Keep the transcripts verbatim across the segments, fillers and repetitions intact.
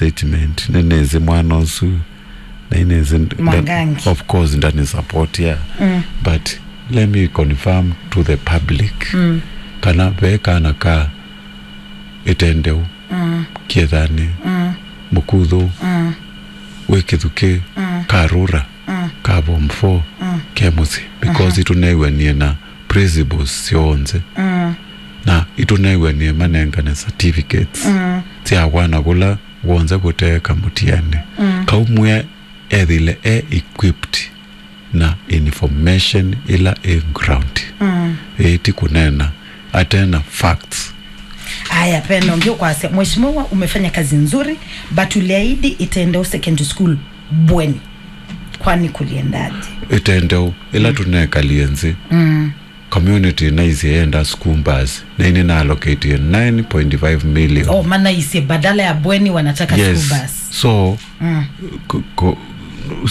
statement, nĩnĩsĩ mwana ũsu, na nĩnĩsĩ nda-, Mwangangi. Of course, ndani support ya. Mm. But let me confirm to the public. Mm. Kana ve kana ka Ĩtendeu, Mm. Kĩethani, Mm. Mũkuthũ, Mm. wĩ Kĩthukĩ, Mm. Karura, Mm. ka form four, Mm. ke mũsyĩ, because Aha. itũnew'anie na principals syonthe. Mm. Na itũnew'anie manengane certificates Mm. sya wana kũla wonze kũteeka mũtiani. Mm. Kau mwe ethĩle e equipped na information ĩla ĩ ground. Mm. Ĩĩ, ti kũneena, atena facts. Aya, pena ũngĩ ũkwasya, Mheshimiwa, umefanya kazi nzuri, but uliahidi Itendeu Secondary School bweni. Kwani kuliendaje? Ĩtendeu, ĩla Mm. tũnekalie nzĩ, Mm. community naisye yenda school bus, na ini na allocate nine point five million. Oh, manaisye badala ya bweni wanataka Yes. school bus. So, Mm. ko-, ko-,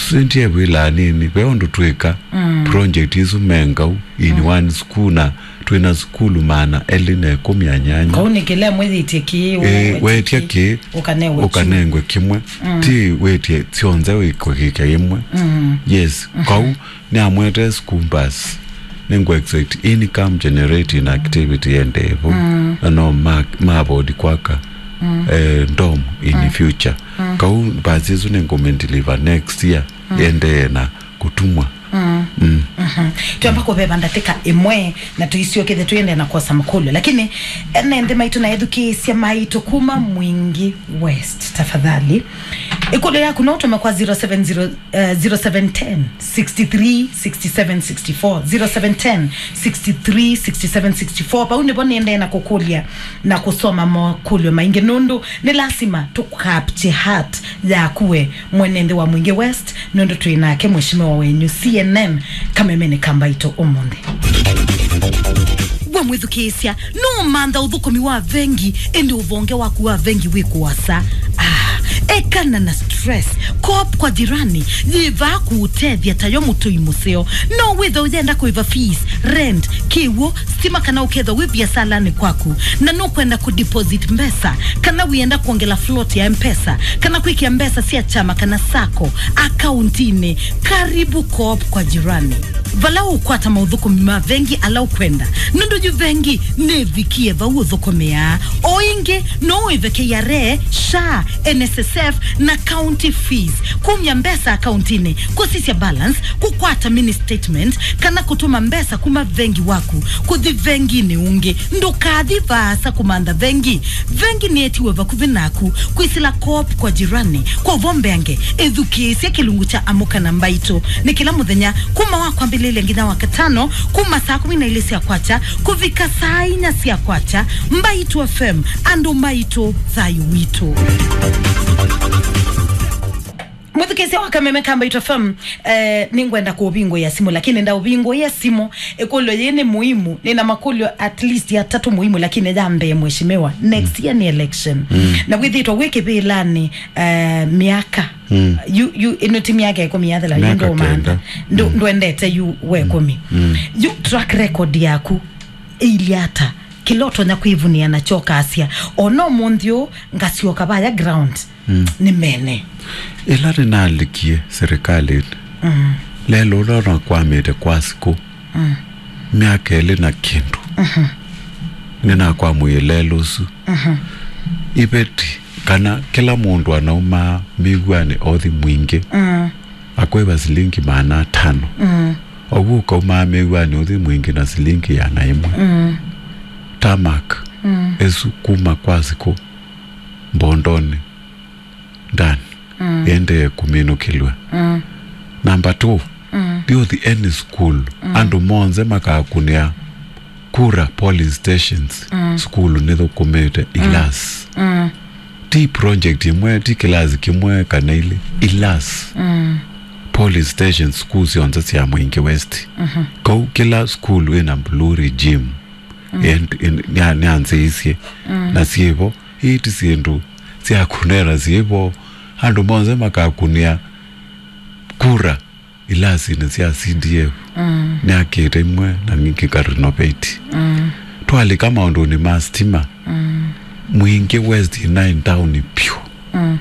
sendie wĩla nini, ve ũndũ twĩka Mm. project isu mengau in Mm. one school, na twĩna sukulu maana elĩ na ĩkũmi na nyanya. Kau nĩ kĩla mwĩthĩtie kĩ, Eh, wetya kĩ, ũkanengwe kĩmwe. Mm. Ti wĩtie syonthe wĩkũkĩkya ĩmwe. Mm. Yes, Mhm. kau nĩamwete school bus. Nĩngũ expect income generating activity yende vo. Mm. Na no ma, ma afford kwaka, Mm. eh, dorm in Mm. future. Mm. Kau bus isu nĩngũmĩndeliver next year, Mm. yendee na kũtumwa. Mm. Mm. Mhm. Twamba kũveva ndatĩka ĩmwe na tũisyokethe tũyende na kwosa makũlyo. Lakini ene nthĩ maitũ na ethukĩĩsya maitũ kuma Mwingi West, tafadhali. Ĩkũlyo yaku no ũtũme kwa zero seven zero, eh, zero seven ten, sixty three, sixty seven, sixty four, zero seven ten, sixty three, sixty seven, sixty four. Vau nĩvo nĩendee na kũkũlya na kũsoma makũlyo maingĩ, nũndũ nĩ lasima tũ capture heart yaku we mwene nthĩ wa Mwingi West, nũndũ twĩ nake mheshimiwa wenyu C N M kamemeni ka Mbaitũ ũmũnthĩ. We mwĩthukĩĩsya, nũũmantha ũthũkũmi wa vengi, ĩndĩ ũvonge waku wa vengi wĩ kũasa? Ah, ekana na stress. Coop kwa Jirani yĩ vaa kũũtethya ta yo mũtũi mũseo. No wĩthwe ũyenda kũĩva fees, rent, kĩw'ũ, stima, kana ũkethwa wĩ viasalanĩ kwaku na nũkwenda kũdeposit mbesa, kana wĩenda kwongela float ya M-Pesa, kana kwĩkĩa mbesa sya kyama kana sacco akauntinĩ, karibu Coop kwa Jirani. Vala ũkwata maũthũkũmi ma vengi ala ũkwenda, nũndũ yu vengi nĩvikie vau ũthũkũmĩaa. O ĩngĩ, no ũĩve K R A, SHA, N S S F, na county fees, kumya mbesa akauntinĩ, kũsisya balance, kũkwata mini statement, kana kũtũma mbesa kuma vengi waku kũthi venginĩ ũngĩ. Ndũkathi vaasa kũmantha vengi. Vengi nĩetiwe vakuvĩ naku. Kwĩsĩla Coop kwa Jirani kwa ũvombeange, ĩthukĩĩsye kĩlungu kya Amũka na Mbaitũ. Nĩ kĩla mũthenya kuma wa kwambĩlĩlya nginya wa katano, kuma saa kũmi na ilĩ sya kwakya kũvika saa inya sya kwakya. Mbaitũ F M, andũ maitũ, thayũ witũ. Mwĩthukĩĩsya wa Kameme ka Mbaitũ F M, eh, nĩngwenda kũvingũĩa simũ, lakini ndaũvingũĩa simũ, ĩkũlyo yĩĩ nĩ muhimu. Nĩna makũlyo at least atatũ muhimu, lakini ya mbee, mheshimiwa, next year nĩ election. Mm. Na wĩthĩtwa wĩ kĩvĩlanĩ, eh, myaka. Mm. Yu, yu, ĩno ti myaka ĩkũmi yathela, yu Myaka ndũmantha. kenda. Ndũ-, Mm. ndwendete yu we Mm. kũmi. Mm. Yu track record yaku ĩilye ata? Kĩla ũtonya kwĩvunĩa nakyo ũkasya, o no mũnthĩ ũũ ngasyoka vaya ground, Mm. nĩ mene. Ĩla nĩnalikie serikalĩnĩ, Mm. lelũ ũla nakwamĩte kwa sikũ, Mm. myaka ĩlĩ na kĩndũ, Mhm. nĩnakwamũie lelũ ũsu. Mhm. Iveti kana kĩla mũndũ anaumaa mĩw'anĩ othi Mwingĩ, Mm. akwĩva silingi maana atano. Mm. Ovu ũkaumaa mĩw'anĩ ũthi Mwingĩ na silingi ĩana ĩmwe. Mm. Tarmac Mm. ĩsu kuma kwa sikũ Mbondonĩ ndani Mm. ĩendee kũminũkĩlw'a. Mm. Number two, Mm. thiũthi any school, Mm. andũ monthe makakunĩa kura polling stations, Mm. sukulu nĩthũkũmĩte, Mm. ilas. Mm. Ti project ĩmwe, ti kĩlasi kĩmwe kana ilĩ, ilas. Mm. Polling stations, sukulu syonthe sya Mwingĩ West. Mhm. Kau kĩla sukulu ĩna blue regime. Mm. And, and, nĩa-, nĩanzĩisye. Mm. Na syĩvo, ii ti syĩndũ sya kũneena, syĩvo. Andũ monthe makakunĩa kura ilasinĩ sya C D F. Mm. Nĩakĩte imwe na ningĩ ka renovate. Mm. Twalika maũndũnĩ ma stima, Mm. Mwingĩ West ĩnaĩ ntaũni vyũ. Mm.